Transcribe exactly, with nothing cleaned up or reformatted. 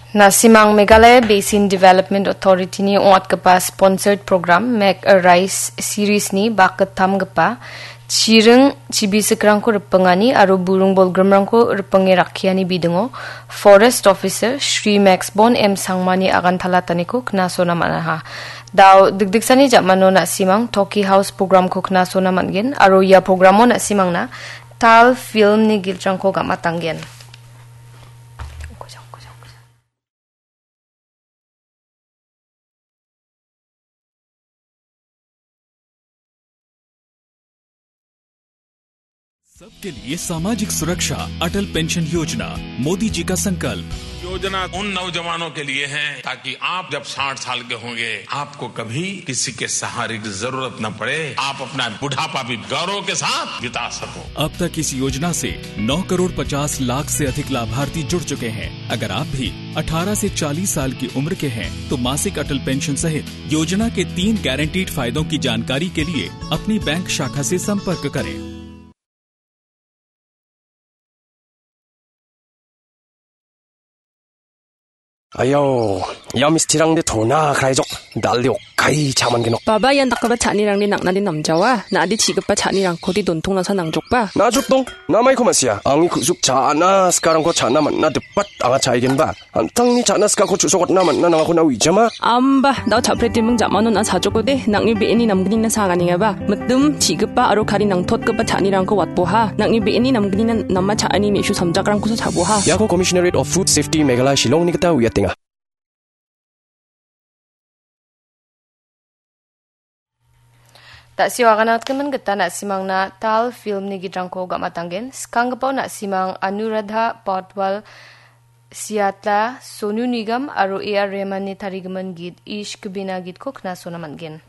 Na·simang Meghalaya Basin Development Authority-ni ong·atgipa sponsored program Make a Rice series-ni bakgittamgipa chiring chibisikrangko ripingani aro buring bolgrimrangko ripinge rakkiani bidingo Forest Officer Shri Maxbon M Sangmani agantalataniko knasona man·aha. Dao dikdiksani jamano na·simang Toki House program-ko knasona man·gen aro ia program-o na·simangna Tal film-ni gitrangko gam·atanggen. सबके लिए सामाजिक सुरक्षा, अटल पेंशन योजना, मोदी जी का संकल्प। योजना उन नौजवानों के लिए है, ताकि आप जब साठ साल के होंगे, आपको कभी किसी के सहारे की जरूरत न पड़े, आप अपना बुढ़ापा भी गौरव के साथ बिता सको। अब तक इस योजना से नौ करोड़ पचास लाख से अधिक लाभार्थी जुड़ चुके हैं। अगर आप भी अठारह से चालीस साल की उम्र के हैं, तो मासिक अटल पेंशन सहित योजना के तीन गारंटीड फायदों की जानकारी के लिए अपनी बैंक शाखा से संपर्क करें। Ayo, ia mistirangde tona kraijok, dalde okai chaman genok. Baba, ian dakgipa cha·anirangde nang·nade namjawa, na·ade chi·gipa cha·nirangkode dontongnasa nangjokba? Najrok dong, namaiko ma·sia, angni ku·suk cha·ana sikarangko cha·na man·na dipat anga cha·aigenba. An·tangni cha·na sikako chu·sokatna man·na nangako na uijama? Amba, dao cha·pretiming ja·manon a sajokode, nang·ni be·eni namgnina saganengaba. Mitim, chi·gipa aro kari nangtotgipa cha·nirangko watboha. Nang·ni be·eni namgnina nama cha·ani me·su samjakrangkosa cha·boha. Iako Commissionerate of Food Safety Meghalaya Shillongni gita uiatenga. Da·sio aganatgimin gita na·simangna Tal filmni gitrangko gam·atanggen. Skanggipao na·simang Anuradha Potwal, Siyatla, Sonu Nigam aro A R Rahmanni tarigimin git Ishq Bina gitko knasona man·gen.